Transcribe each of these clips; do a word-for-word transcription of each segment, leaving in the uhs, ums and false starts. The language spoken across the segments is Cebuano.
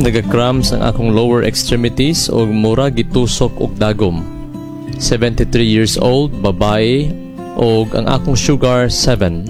Naga-cramps ang akong lower extremities og mura gitusok og dagom. seventy-three years old, babae, og ang akong sugar seven.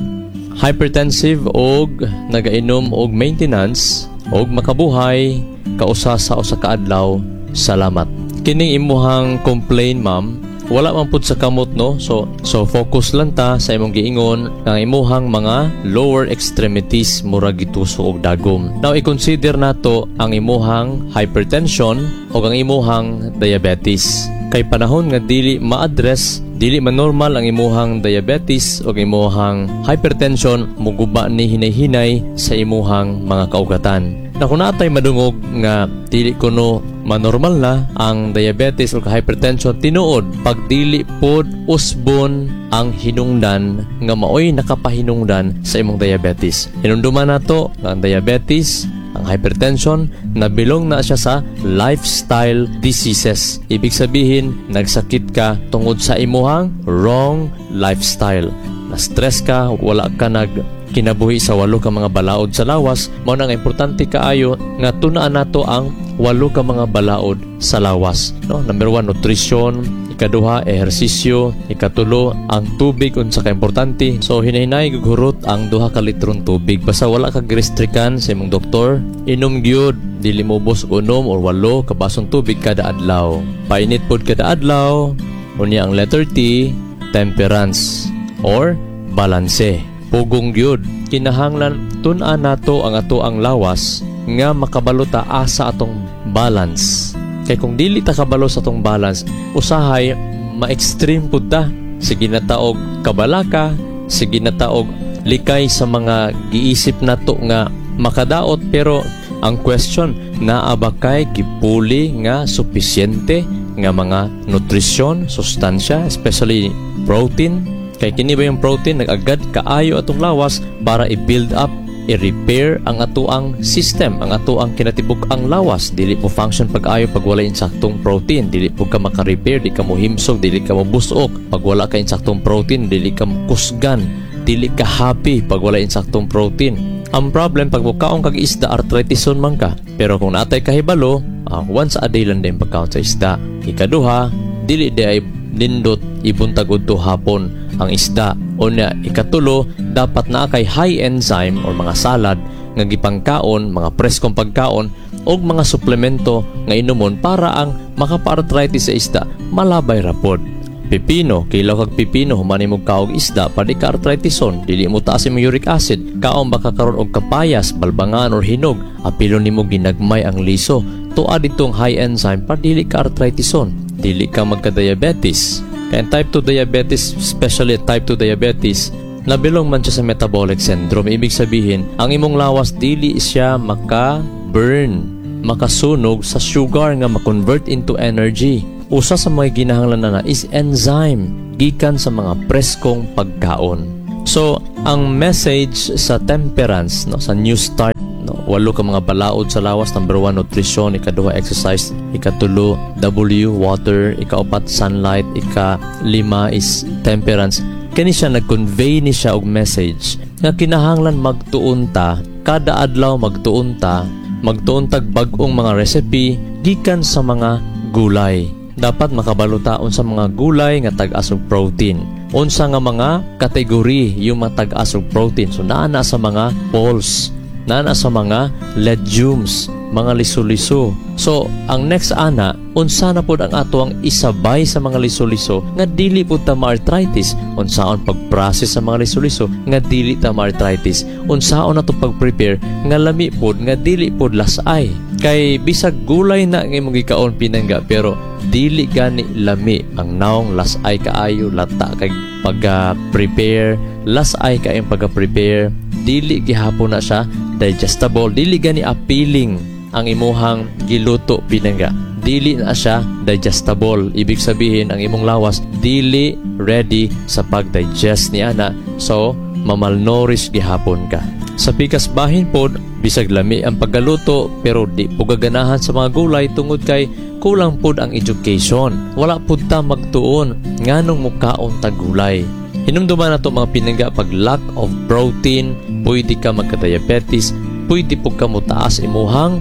Hypertensive og nagainom og maintenance og makabuhay kausa sa usa ka adlaw. Salamat. Kining imuhang complain, ma'am, wala man pud sa kamot, no? So so focus lang ta sa imong giingon ang imuhang mga lower extremities mura gitusok og dagom. Now, i-consider nato ang imuhang hypertension o ang imuhang diabetes. Kay panahon nga dili ma-address, dili man normal ang imuhang diabetes o imuhang hypertension, muguba ni hinay-hinay sa imuhang mga kaugatan. Na kung natay madungog nga dili kuno manormal na ang diabetes o hypertension, tinuod pag dili pod usbon ang hinungdan nga maoy nakapahinungdan sa imong diabetes. Hinumduman nato nga ang diabetes, ang hypertension, nabilong na siya sa lifestyle diseases. Ibig sabihin, nagsakit ka tungod sa imuhang wrong lifestyle. Na-stress ka, wala ka nag kinabuhi sa walo ka mga balaod sa lawas. Mao na nga importante kaayo nga tunaan nato ang walo ka mga balaod sa lawas. No? Number one, nutrition. Ikaduha, ehersisyo. Ikatulo, ang tubig, unsa ka importante. So, hinahinay gugurot ang duha ka litron tubig. Basta wala ka girestrikan sa imong doktor, inom gyud, dili mo ubos og unom or walo ka basong tubig kada adlaw. Painit pod kada adlaw. Unya ang letter T, temperance or balanse. Pugong gyud. Kinahanglan tun-an nato ang ato ang lawas nga makabalo ta asa atong balance. Kay kung dili ta kabalo sa atong balance, usahay ma-extreme pud ta. Sige na ta og kabalaka, sige na ta og likay sa mga giisip nato nga makadaot, pero ang question, naa ba kay gipuli nga supisyente nga mga nutrisyon, sustansya, especially protein? Kay kini ba yung protein nag-agad kaayo atong lawas para i-build up, i-repair ang atoang system, ang atoang kinatibuk-ang lawas. Dili mo function pag-ayo pag wala insaktong protein. Dili po ka maka-repair, di ka mo himsog, dili ka mo busok. Pag wala ka insaktong protein, dili ka mo kusgan, dili ka happy pag wala insaktong protein. Ang problem, pag mukaon kag isda, artritison man ka. Pero kung natay kahibalo, uh, once a day lang din pagkaon sa isda. Ikaduha, dili di ay nindot ibuntag udto hapon ang isda. Unya, ikatulo, dapat naa kay high enzyme or mga salad nga gipangkaon, mga preskong pagkaon og mga suplemento nga inumon para ang makapa-arthritis sa isda malabay ra pod. Pipino, kilaw kag pipino human nimo kaog isda para di ka arthritison, dili mo taas imong uric acid. Kaon ba ka karon og kapayas, balbangan or hinog, apilon nimo ginagmay ang liso. Tuad ditong high enzyme para dili ka arthritison, dili ka magka-diabetes. Kaya type two diabetes, especially type two diabetes, nabilong man siya sa metabolic syndrome. Ibig sabihin, ang imong lawas dili siya maka-burn, makasunog sa sugar nga ma-convert into energy. Usa sa mga ginahanglan na, na is enzyme gikan sa mga preskong pagkaon. So, ang message sa temperance, no, sa New Start, no, walo ka mga balaod sa lawas. Number one, nutrition. Ikaduha, exercise. Ikatulo, W, water. Ikaupat, sunlight. Ika-lima is temperance. Kani siya, nag-convey ni siya og message nga kinahanglan magtuon ta kada adlaw, magtuon ta magtuon tag bag-ong mga recipe gikan sa mga gulay. Dapat makabalo ta unsa mga gulay nga tag-as og protein, unsa nga mga kategory yung mga tag-as og protein. So naa na sa mga pulse, naa na sa mga legumes, mga liso-liso. So, ang next ana, unsa na pod ang ato ang isabay sa mga liso-liso nga dili pud ta ma-arthritis? Unsaon pag-process sa mga liso-liso nga dili ta ma-arthritis? Unsaon nato pag-prepare nga lami pod, nga dili pod lasay? Kay bisag gulay na nga imong gikaon, pinangga, pero dili gani lami ang naong, lasay kaayo, lata kay pagka-prepare, lasay kay pagka-prepare, dili gihapon na siya digestible, dili gani appealing ang imuhang giluto, pinangga. Dili na siya digestible. Ibig sabihin, ang imong lawas dili ready sa pag-digest ni ana. So, mamalnourish gihapon ka. Sa pikas bahin pod, bisag lami ang paggaluto pero di po gaganahan sa mga gulay tungod kay kulang pod ang education. Wala pod ta magtuon nganong mukaon ta gulay. Hinumduman nato, mga pinangga, pag lack of protein, pwede ka magka-diabetes, pwede po ka mutaas imuhang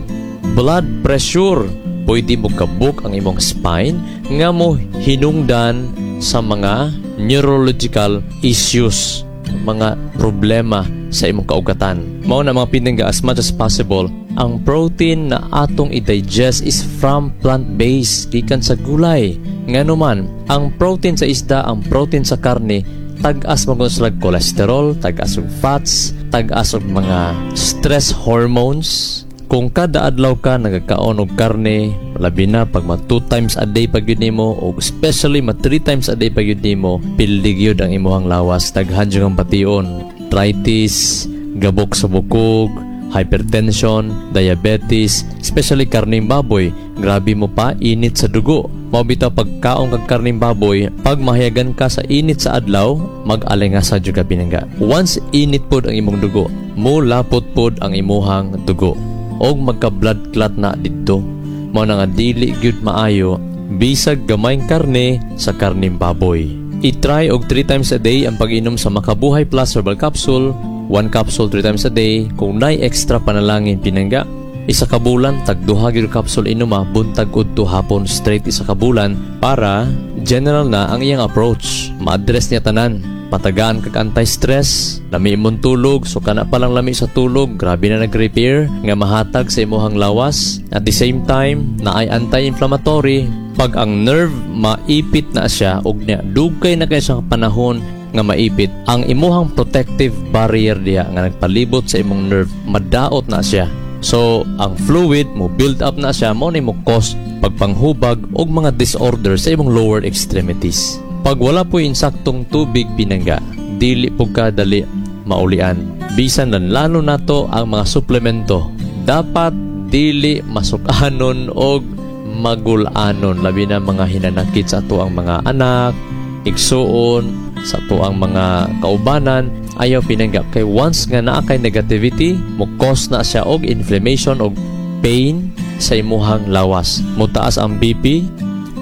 Blood pressure, pwede mo kabuk ang imong spine nga mo hinungdan sa mga neurological issues, mga problema sa imong kaugatan. Mao na, mga pinangga, as much as possible, ang protein na atong i-digest is from plant-based, gikan sa gulay. Ngano man, ang protein sa isda, ang protein sa karne, tag-as mo sila cholesterol, tag-as og fats, tag-as og mga stress hormones. Kung kada adlaw ka nagakaon og karne, labi na pag ma two times a day pag yun nimo o especially ma three times a day pag yun nimo, pildig yun ang imuhang lawas, daghan jud ang bation. Arthritis, gabok sa bukog, hypertension, diabetes, especially karning baboy, grabe mo pa init sa dugo. Mao bitaw pagkaon kag karning baboy, pag mahayagan ka sa init sa adlaw, mag-alingasa jud ka, pinangga. Once init pod ang imong dugo, mo lapot pod ang imuhang dugo og magka blood clot na didto. Mao na nga dili gyud maayo bisag gamayng karne sa karning baboy. I-try og three times a day ang pag-inom sa Makabuhay Plus Herbal Capsule, one capsule three times a day. Kung nay extra panalangin, pinangga, isa ka bulan tag duha gyud capsule inuma buntag udto hapon, straight isa ka bulan para general na ang iyang approach, ma-address niya tanan. Patagaan kag anti-stress, lami imong tulog, so kana pa lang lami sa tulog, grabe na nag-repair nga mahatag sa imuhang lawas. At the same time, naay anti-inflammatory. Pag ang nerve maipit na siya og niya dugay na kay sa panahon nga maipit, ang imuhang protective barrier diha nga nagpalibot sa imong nerve, madaot na siya. So, ang fluid mo build up na siya, mo ni mo cause pagpanghubag og mga disorder sa imong lower extremities. Pag wala po insaktong tubig, pinangga, dili po ka dali maulian. Bisan lalo nato ang mga suplemento, dapat dili masukanon og magulanon, labi na mga hinanakit sa ato ang mga anak, igsuon, sa ato ang mga kaubanan. Ayaw, pinangga, kay once nga naa kay negativity, mo cause na siya og inflammation og pain sa imuhang lawas, mutaas ang B P.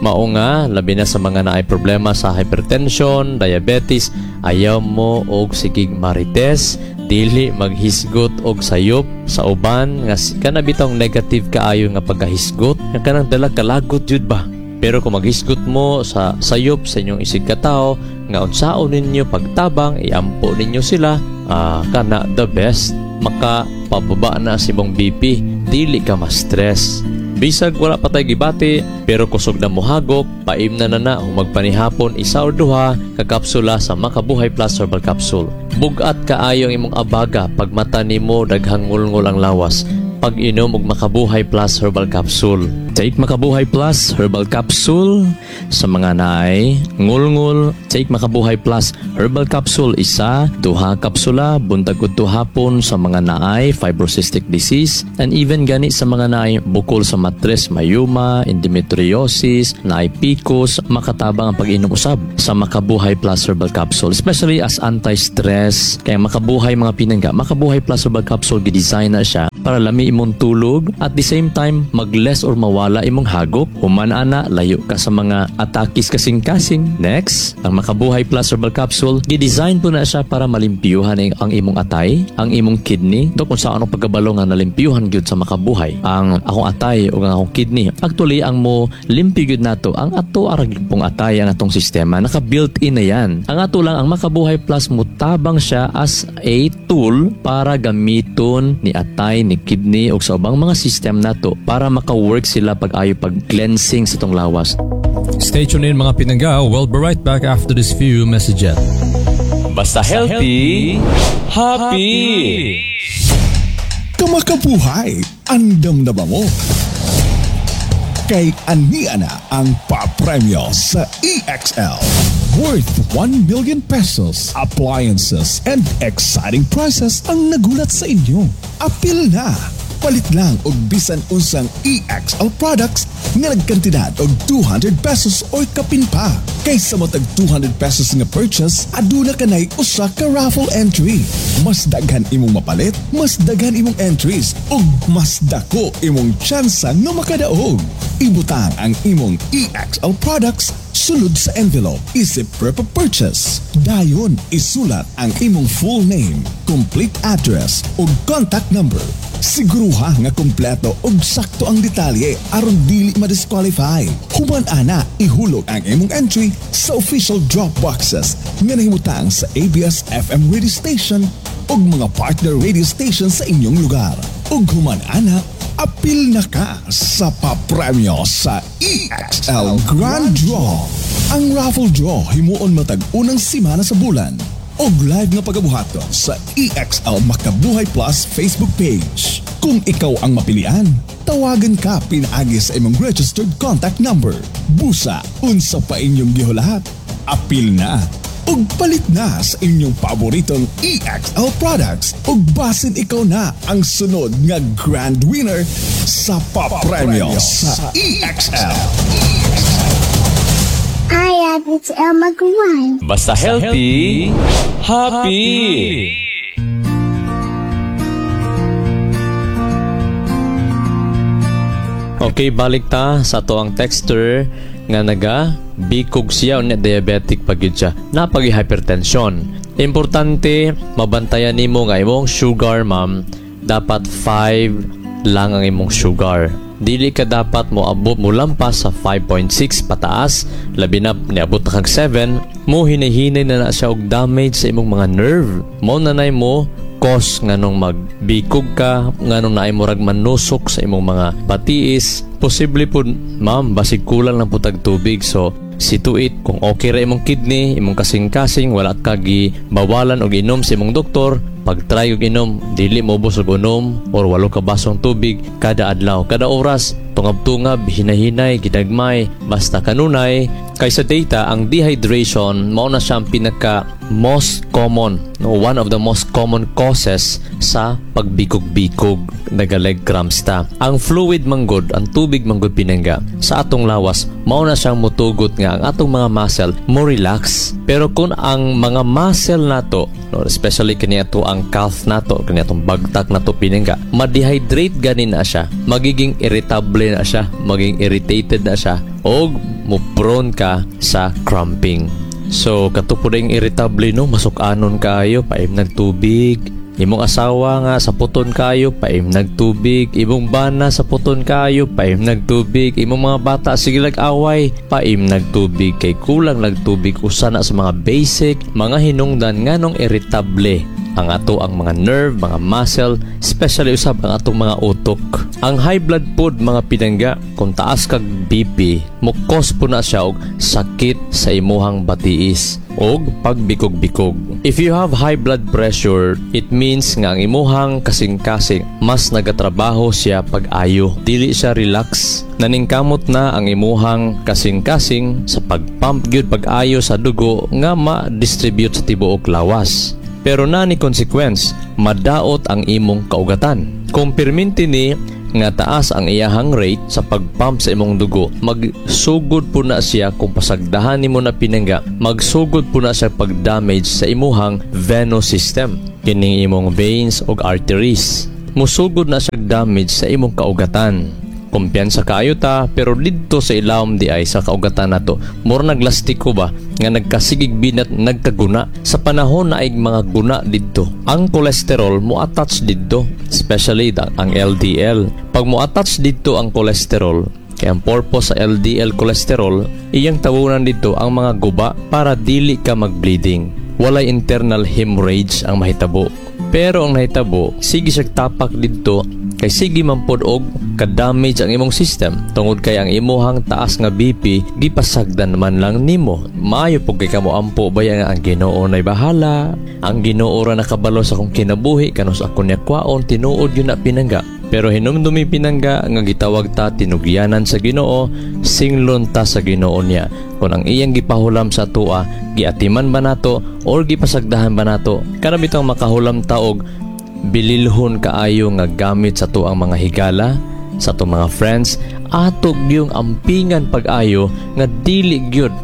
Mao nga labi na sa mga naay problema sa hypertension, diabetes, ayaw mo og sigig marites, dili maghisgot og sayop sa uban nga kana bitong negative kaayo nga pagkahisgot nga kanang dala kalagot jud ba. Pero kung maghisgot mo sa sayop sa inyong isig katao nga unsaon ninyo pagtabang, iampo ninyo sila, ah, kana the best. Maka pababa na si imong B P, dili ka ma-stress. Bisag wala pa tay gibati, pero kusog na mohagok, paimna na na humagpanihapon isa or duha ka kapsula sa Makabuhay Plus Herbal Capsule. Bugat kaayo ang imong abaga, pag mata nimo daghang ngulngol ang lawas. Pag-inom og Makabuhay Plus Herbal Capsule. Take Makabuhay Plus Herbal Capsule sa mga naay ngulngol. Take Makabuhay Plus Herbal Capsule, isa, duha kapsula buntag udto hapon sa mga naay fibrocystic disease and even gani sa mga naay bukol sa matres, myoma, endometriosis, naay P C O S, makatabang ang pag-inom usab sa Makabuhay Plus Herbal Capsule, especially as anti-stress. Kaya Makabuhay, mga pinangga, Makabuhay Plus Herbal Capsule, gidesign na siya para lami imong tulog, at the same time mag-less or mawala imong hagok. Human ana, layo ka sa mga atakis kasing-kasing. Next, ang Makabuhay Plus Herbal Capsule, gidesign po na siya para malimpiyuhan ang, ang imong atay, ang imong kidney. Do kung sa anong pagkabalo nga nalimpiyuhan gyud sa Makabuhay ang akong atay o ang akong kidney. Actually, ang mo limpyo gyud nato ang ato arag pong atay, ang atong sistema naka built-in na yan. Ang ato lang, ang Makabuhay Plus, mutabang siya as a tool para gamiton ni atay, ni kidney o sa ubang mga system nato para maka-work sila pag ayo pag cleansing sa tong lawas. Stay tuned in, mga pinangga. We'll be right back after this few messages. Basta healthy, happy. Kamakabuhay, andam na ba mo? Kay ania na ang papremyo sa E X L. Worth one million pesos, appliances, and exciting prizes ang nagulat sa inyo. Apil na! Palit lang og bisan unsang E X L products nga nagkantidad og two hundred pesos or kapin pa. Kaysa matag two hundred pesos nga purchase, aduna kanay usa ka raffle entry. Mas daghan imong mapalit, mas daghan imong entries ug mas dako imong tsansa nga makadaog. Ibutang ang imong E X L products sulod sa envelope isip proof of purchase. Dayon isulat ang imong full name, complete address ug contact number. Siguruha nga kompleto ug sakto ang detalye aron dili ma-disqualify. Human ana, ihulog ang imong entry sa official drop boxes nga nahimutang sa A B S F M radio station ug mga partner radio station sa inyong lugar. Ug human ana, apil na ka sa papremyo sa E X L Grand Draw. Ang raffle draw himuon matag unang semana sa bulan og live nga pagabuhaton sa E X L Makabuhay Plus Facebook page. Kung ikaw ang mapilian, tawagan ka pinaagi sa imong registered contact number. Busa, unsa pa inyong gihulat? Apil na ug palit na sa inyong paboritong E X L products ug basin ikaw na ang sunod nga grand winner sa papremyo sa E X L. Hi, it's Elma Guan. Basta healthy, happy. Okay, balik ta sa ato ang texter nga naga bikog siya, unya diabetic pa gyud siya. Napagi hypertension. Importante mabantayan nimo nga imong sugar, ma'am, dapat five lang ang imong sugar. Dili ka dapat mo abot, mo lampas sa five point six pataas, labi na niabot na kag seven, mo hinihinay na na siya og damage sa imong mga nerve. Mo nanay mo cause nganong magbikog ka, nganong naay murag manusok sa imong mga batiis. Posible pud, ma'am, basig kulang lang pud tag tubig. So situate kung okay ra imong kidney, imong kasing-kasing, wala ka gi bawalan og inom sa imong doktor, pag-try og inom, dili mo ubos og unom or walo ka basong tubig kada adlaw, kada oras, tungab-tungab, hinahinay, ginagmay, basta kanunay. Kay sa data, ang dehydration mao na siya ang pinaka most common, no, one of the most common causes sa pagbikog-bikog, naga-leg cramps ta. Ang fluid manggod, ang tubig manggod, pinangga, sa atong lawas, mao na siyang mutugot nga ang atong mga muscle mo relax. Pero kung ang mga muscle nato, no, especially kini ato ang calf nato, kini atong bagtak nato, pinangga, ma-dehydrate gani na siya, magiging irritable na siya, magiging irritated na siya, og mo prone ka sa cramping. So, kato po ring irritable, no, masuk-anon kaayo, paim nagtubig. Imong asawa nga sa puton kayo, paim nagtubig. Imong bana sa puton kayo, paim nagtubig. Imong mga bata sige away, paim nagtubig. Kay kulang nagtubig, usa na sa mga basic, mga hinungdan nganong irritable ang ato ang mga nerve, mga muscle, especially usab ang atong mga utok. Ang high blood pod, mga pinangga, kung taas kag B P, mo cause po na siya og sakit sa imuhang batiis og pagbikog-bikog. If you have high blood pressure, it means nga ang imuhang kasing-kasing mas nagatrabaho siya pag-ayo. Dili siya relax. Naningkamot na ang imuhang kasing-kasing sa pagpump gyud pag-ayo sa dugo nga ma-distribute sa tibuok lawas. Pero na ni consequence, madaot ang imong kaugatan. Kung perminti ni nga taas ang iyahang rate sa pagpump sa imong dugo, magsugod po na siya, kung pasagdahan nimo na, pinangga, magsugod po na siya pag-damage sa imuhang venous system, kining imong veins ug arteries. Musugod na siya damage sa imong kaugatan. Kumpiyansa kaayo ta, pero didto sa ilawom di ay sa kaugatan nato, mura naglastiko ba nga nagkasigig binat, nagkaguna. Sa panahon na ay mga guna didto, ang cholesterol mo attach didto, especially da, ang L D L. Pag mo attach didto ang cholesterol, kay ang purpose sa L D L cholesterol, iyang tawunan didto ang mga guba para dili ka mag-bleeding, walay internal hemorrhage ang mahitabo. Pero ang nahitabo, sige siya tapak didto kay sige man pod og ka-damage ang imong system tungod kay ang imuhang taas nga B P gipasagdan man lang nimo. Maayo pug kay kamo ampo baya nga ang Ginoo nay bahala, ang Ginoo ra nakabalo sa akong kinabuhi, kanus ako niya kwaon. Tinuod yun na, pinangga, pero hinumdumi, pinangga, nga gitawag ta tinugyanan sa Ginoo, singlon ta sa Ginoo niya. Kung ang iyang gipahulam sa atoa, giatiman ba nato or gipasagdahan ba nato? Kana bitong makahulam ta og bililhon kaayo nga gamit sa tuang mga higala, sa atong mga friends, ato gyung ampingan pag-ayo nga dili gyud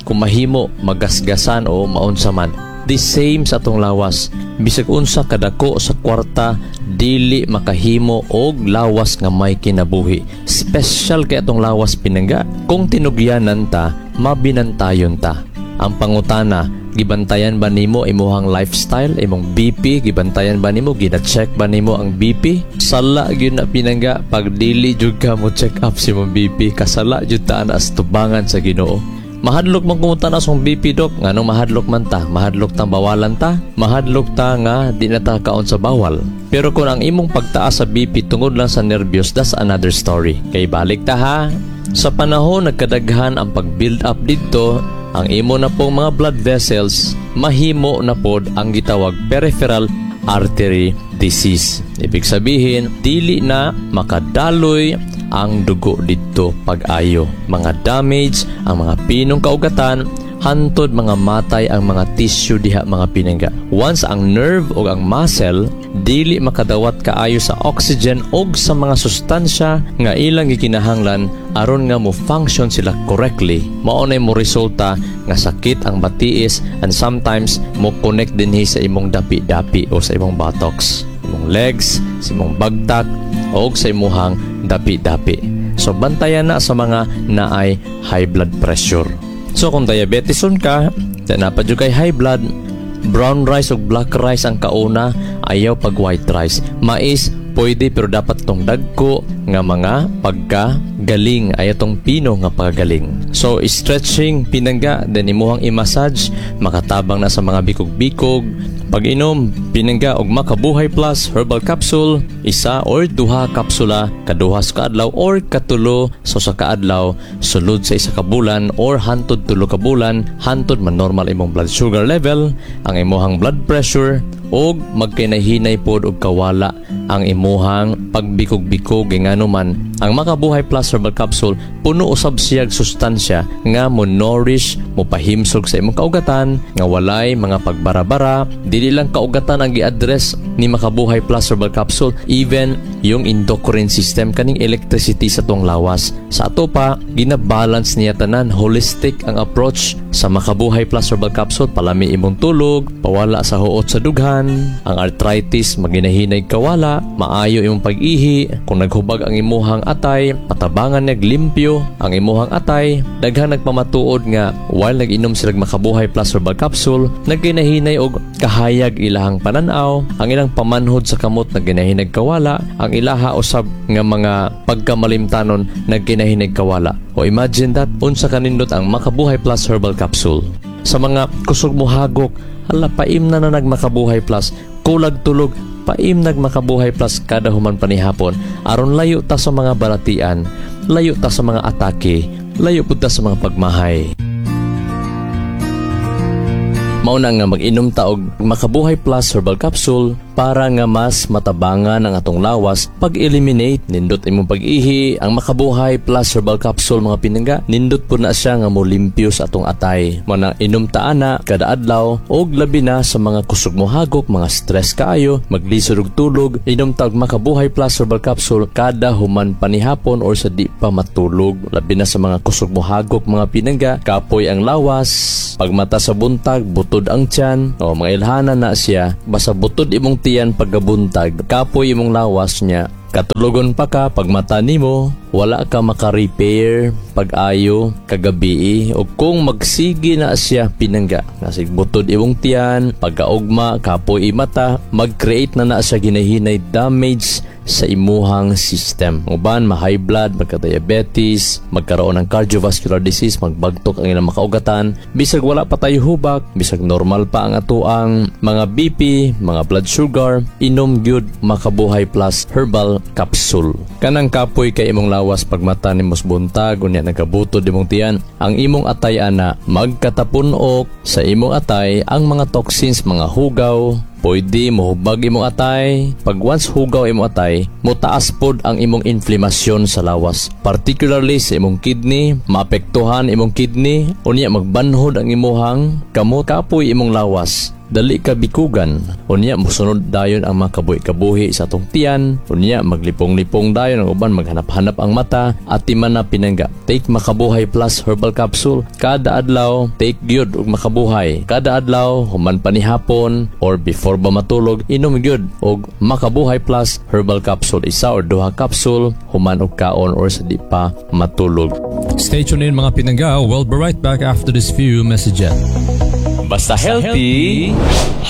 kung mahimo magasgasan o maunsa man. The same sa atong lawas. Bisag unsa kadako sa kwarta, dili makahimo og lawas nga may kinabuhi. Special kay atong lawas, pinangga. Kung tinugyanan ta, mabinantayon ta. Ang pangutana, Gibantayan ba nimo imuhang lifestyle, imong B P, gibantayan ba nimo, gina-check ba nimo ang B P? Sala gyud na, pinangga, pag dili jud ka mo check up sa imong B P, kasala jud ta ana sa tubangan sa Ginoo. Mahadlok man kumuta na sa B P, dok. Nganong mahadlok man ta? Mahadlok tang bawalan ta? Mahadlok ta nga di na ta kaon sa bawal. Pero kung ang imong pagtaas sa B P tungod lang sa nervyos, that's another story. Kay balik ta ha. Sa panahon nagkadaghan ang pag-build up didto, ang imo na pong mga blood vessels, mahimo na pod ang gitawag peripheral artery disease. Ibig sabihin, dili na makadaloy ang dugo didto pag-ayo. Mga damage ang mga pinong kaugatan, hantod mga matay ang mga tissue diha, mga pinangga. Once ang nerve o ang muscle dili makadawat kaayo sa oxygen og sa mga sustansya nga ilang gikinahanglan aron nga mo function sila correctly, mao nay mo resulta nga sakit ang batiis and sometimes mo connect dinhi sa imong dapi-dapi o sa imong buttocks, imong legs, sa imong bagtak o sa imuhang dapi-dapi. So bantayan na sa mga naay high blood pressure. So kung diabeteson ka, naa pa jud kay high blood, brown rice o black rice ang kauna, ayaw pag white rice. Mais pwede, pero dapat tong dagko nga mga pagka galing, ayaw tong pino nga paggaling. So stretching, pinangga, then imuhang i-massage, makatabang na sa mga bikog-bikog. Pag-inom, pinangga, og Makabuhay Plus Herbal Capsule, isa or duha kapsula kaduha sa kaadlaw or katulo sa usa ka adlaw sulod sa isa ka bulan or hantod tulo ka bulan, hantod man normal imong blood sugar level, ang imuhang blood pressure, og magkinahinay pod og kawala ang imuhang pagbikog-bikog. Ngano man, ang Makabuhay Plus Herbal Capsule puno usab siyag sustansya nga mo nourish, mo pahimsog sa imong kaugatan nga walay mga pagbarabara. Dili lang kaugatan ang gi-address ni Makabuhay Plus Herbal Capsule, even yung endocrine system, kaning electricity sa tuang lawas. Sa ato pa, gina-balance niya tanan. Holistic ang approach sa Makabuhay Plus Herbal Capsule. Palami imong tulog, pawala sa huot sa dughan, ang arthritis maginahinay kawala, maayo imong pag-ihi, kung naghubag ang imuhang atay, patabangan nag limpyo ang imuhang atay. Daghang nagpamatuod nga while nag-inom sila Makabuhay Plus Herbal Capsule, nagkinahinay og kahayag ilahang pananaw, ang ilang pamanhod sa kamot nagkinahinay kawala, ang ilaha usab nga mga pagkamalimtanon nagkinahinay kawala. O imagine that, unsa kanindot ang Makabuhay Plus Herbal Capsule. Sa mga kusog mo hagok, hala, paimna na nag Makabuhay Plus, kulag tulog, paim nag Makabuhay Plus kada human panihapon aron layo ta sa mga balatian, layo ta sa mga atake, layo pud ta sa mga pagmahay. Mao na nga mag-inom ta og Makabuhay Plus Herbal Capsule para nga mas matabangan ang atong lawas pag-eliminate. Nindot imong pag-ihi. Ang Makabuhay Plus Herbal Capsule, mga pinangga, nindot po na siya nga molimpyo sa atong atay. Mao na inom ta ana kada adlaw, og labi na sa mga kusog mo hagok, mga stress kaayo, maglisod og tulog, inom ta og Makabuhay Plus Herbal Capsule kada human panihapon or sa di pa matulog. Labi na sa mga kusog mo hagok, mga pinangga, kapoy ang lawas, pagmata sa buntag butod ang tiyan o mga ilhanan na siya. Basta butod imong tiyan pagkabuntag, kapoy imong lawas niya, katulogon pa ka pagmata nimo, wala ka maka-repair pag-ayo kagabi. O kung magsige na siya, pinangga, nasig butod imong tiyan pagkaugma, kapoy imata, mag-create na na siya ginahinay damage sa imuhang system. Uban, ma-high blood, magka-diabetes, magkaroon ng cardiovascular disease, magbagtok ang ilang makaugatan. Bisag wala pa tayo hubak, bisag normal pa ang atoang mga B P, mga blood sugar, inom gyud Makabuhay Plus Herbal Capsule. Kanang kapoy kay imong lawas pagmata nimo sa buntag, unya nagkabutod imong tiyan, ang imong atay ana magkatapunok sa imong atay ang mga toxins, mga hugaw, pwede mohubag imong atay. Pag once hugaw imong atay, motaas pod ang imong inflamasyon sa lawas. Particularly sa imong kidney, maapektuhan imong kidney, unya magbanhod ang imuhang kamot, kapoy imong lawas, dali ka bikugan. Unya mosunod dayon ang mga kabuhi-kabuhi sa atong tiyan, unya maglipong-lipong dayon ang uban, maghanap-hanap ang mata. Atiman na, pinangga, take Makabuhay Plus Herbal Capsule kada adlaw. Take gyud og Makabuhay kada adlaw human panihapon or before ba matulog. Inom gyud og Makabuhay Plus Herbal Capsule, isa or duha capsule human og kaon or sa di pa matulog. Stay tuned in, mga pinangga. We'll be right back after this few messages. Basta healthy,